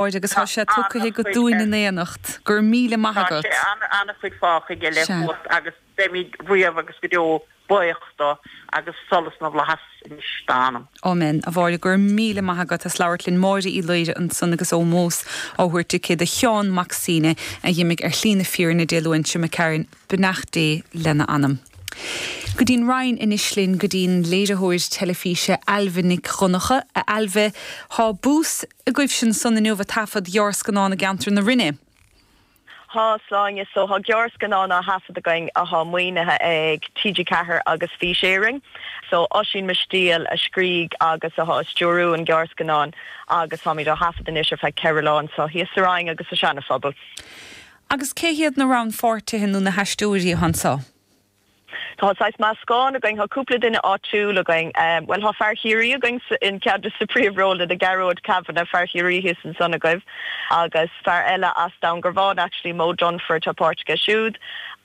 Agus tá sé tugtha agat dúinn in éineacht. Go raibh míle maith agat. Tá sé an-chuid fágtha aige le chumhacht agus beimid riamh agus go deo buíoch dó agus solas na bhflaitheas anois dá anam. Amen. A Mháire, go raibh míle maith agat as labhairt linn. Máire Uí Laoire ansan agus ómós á thabhairt aici do Sheán Mac Suibhne a dh'imigh ar shlí na fírinne Dé Luain seo imigh tharainn. Beannacht Dé lena anam. Go dtí'n Rinn anois linn, go dtí'n léiritheoir teilifíse Ailbhe Nic Dhonncha. A Ailbhe, thá bús agaibhse ansan inniu ag taifead ghearrscannán i gceantar na Rinne. Thá, a Shláine. So thá gearrscannán á thaifead againn athá maoinithe ag TG4 agus Fís Éireann. So Oisín Mistéil a scrígh agus athá ag stiúrú an gearrscannáin agus táimid á thaifead anois ar feadh 4 lá anso thíos sa Rinn agus sa Seana-Phobal. Agus cé hiad na rannpháirtithe nó na haisteoirí atá anso? Tá saghas meascán againn, tá cúpla duine áitiúil againn, bhuel tá fear Chiarraí againn in ceann de na príomhrólanna, Gearóid Kavanagh, fear Chiarraí thíos ansan agaibh, agus fear eile as Dún Garbhán actually, Mo Dunford, tá páirt aige siúd,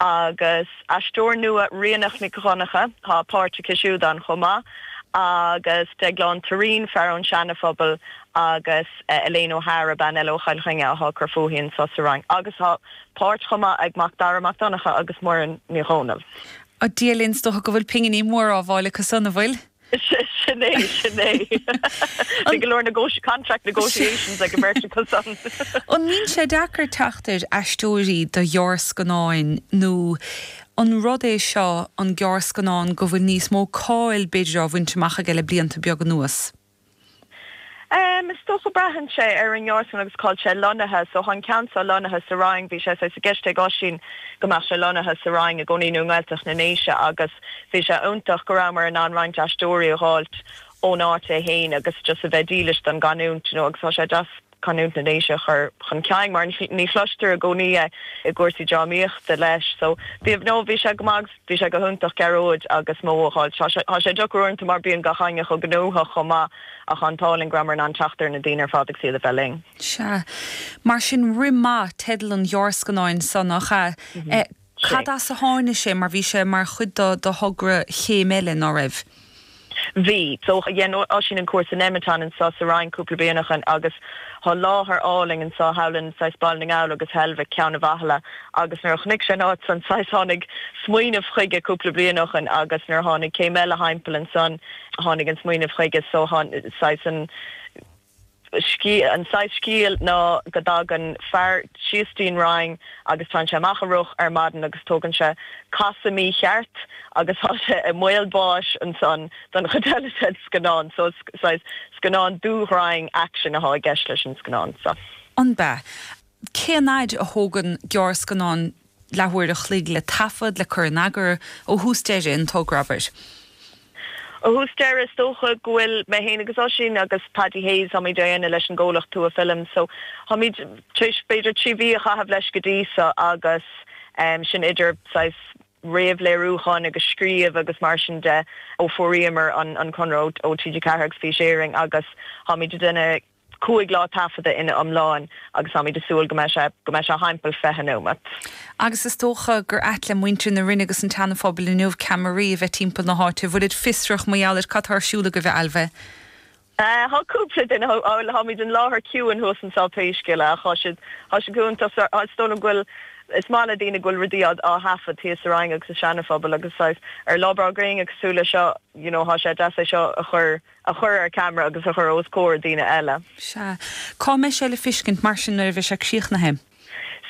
agus aisteoir nua Ríonach Nic Dhonncha, tá páirt aici siúd ann chomh maith, agus Deaglán Turraoin, fear ón Seana-Phobal, agus Elaine O'Hara, bean eile ó Chill Chainnigh athá ag cur fúithi anso sa Rinn, agus tá páirt chomh maith ag Macdara Mac Donncha agus Muireann Ní Dhomhnaill. A Dhia linn, is dócha go bhfuil pinginí móra á bhfáil acu san, an bhfuil? Sin é, sin é. Bhí go leor contract negotiations ag an mbeirt acu san. An mbíonn sé deacair teacht ar aisteoirí do ghearrscannáin nó an rud é seo an gearrscannán go bhfuil níos mó cáil b'fhéidir á bhaint amach aige le blianta beaga anuas? Is dócha braitheann sé ar an ngearrscannán agus cá bhfuil sé lonnaithe. So tá an ceann seo lonnaithe sa Rinn. Bhí sé saghas i gceist ag Oisín go mbeadh sé lonnaithe sa Rinn i gcónaí nó i nGaeltacht na nDéise agus bhí sé iontach go rabhamar in ann roinnt aisteoirí a dh'fháilt ón áit é fhéin agus just a bheith dílis don gcanúint you know agus tá sé deas canúint na nDéise a chur chun cinn mar ní chloistear i gcónaí é i gcúrsaí drámaíochta leis. So bhí, no, bhí sé go maith agus bhí sé go hiontach Gearóid agus Mo a dh'fháilt. Tá sé, tá sé deacair uaireanta mar bíonn gach éinne chomh gnóthach chomh maith ach an t-ádh linn go rabhamar in ann teacht ar na daoine ar fad agus iad a bheith linn. Sea. Mar sin, Rith Maith teideal an ghearrscannáin so, nach ea? Cad as a tháinig sé mar bhí sé mar chuid do thogra Chéim Eile, ná raibh? Bhí. So dhein Oisín an cúrsa Nemeton anso sa Rinn cúpla bliain ó shoin agus thá láthair álainn anso thall in saghas Baile na nGall agus Heilbhic, Ceann a' Bhathalla agus nuair a chonaic sé an áit san saghas tháinig smaoineamh chuige cúpla bliain ó shoin agus nuair a tháinig Céim Eile thimpeall ansan tháinig an smaoineamh chuige so saghas an An saghas scéil ná go dtagann fear síos dtí'n Rinn agus téann sé amach a rith ar maidin agus tógann sé casadh mícheart agus tá sé i mbaol báis ansan don chuid eile den scannán. So is saghas scannán dúghrainn action athá i gceist leis an scannán so. An b'ea? Cén fhaid a thógann gearrscannán leathuair a chloig le taifead, le cur in eagar, ó thús deireadh, an togra, abair? Ó thús deireadh, is dócha go bhfuil mé féin agus Oisín agus Paddy Hayes, táimid á dhéanamh leis an gcomhlacht Tua Films, so táimid tar éis b'fhéidir 3 mhí a chaitheamh leis go dtí so agus sin idir saghas réamhléiriúcháin agus scríobh agus mar sin de ó fuairíomar an conradh ó TG4 agus Fís Éireann agus táimid ag déanamh 5 lá taifeadta ina iomláin agus táimid ag súil go mbeidh sé go mbeidh sé thimpeall 20 nóiméad. Agus is dócha gur ait le muintir na Rinne agus an tSeana-Phobail inniu ceamaraí a bheith timpeall na háite. Bhfuilid fiosrach mar gheall ar cad tá ar siúl agaibh, a Ailbhe? Tá cúpla duine, bhuel táimid in láthair ciúin thuas anseo pé scéal é ach tá siad tá siad go hiontach is dóigh liom go bhfuil is maith le daoine go bhfuil rudaí á á thaifead thíos sa Rinn agus sa Seana-Phobal agus saghas ar lá breá gréine cosúil le seo you know tá sé deas é seo a chur a chur ar ceamara agus a chur os comhair daoine eile. Sea. Cá mbeidh sé le fiscint mar sin nuair a bheidh sé críochnaithe?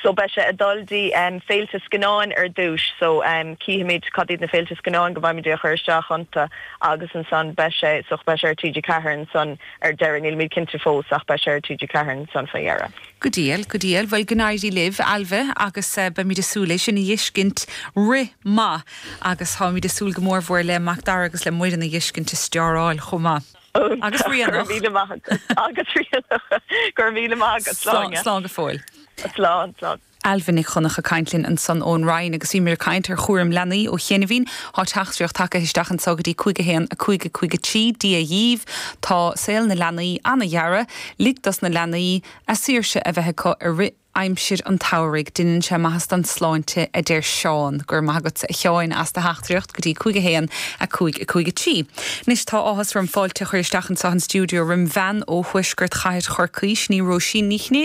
So beidh sé ag dul dtí féilte scannáin ar dtúis so cífimid cad iad na féilte scannáin go bhfaighimid é a chur isteach iontu agus ansan beidh sé so beidh sé ar TG4 ansan ar deireadh, nílimid cinnte fós ach beidh sé ar TG4 ansan fá dheireadh. Go diail, go diail. Bhuel go n-éirí libh, Ailbhe, agus beimid ag súil é sin a dh'fheiscint. Rith Maith! Agus táimid ag súil go mór mhór le Macdara agus le Muireann a dh'fheiscint ag steáráil chomh maith. Agus Ríonach. Go raibh míle maith agat. Agus Ríonach. Go raibh míle maith agat. Slán. Slán go fóill. Slán, slán. Ailbhe Nic Dhonncha ag caint linn ansan ón Rinn agus bhíomar ag caint ar chúram leanaí ó chianaibhín. Tá teachtaireacht tagtha isteach anso go dtí 5 1 5 5 3. Dia dhíbh. Tá saol na leanaí ana-ghearra. Lig dos na leanaí a saoirse a bheith acu i rith. Aimsir an tsamhraidh, deineann sé maitheas don sláinte, a deir Seán. Go raibh maith agatsa a Sheáin as do theachtaireacht go dtí 5 1 5 5 3. Anois tá áthas orm fáilte a chur isteach anseo an stiúideo roim bhean ó thuaisceart chathair Chorcaí, sin í Róisín Ní Chinnéide.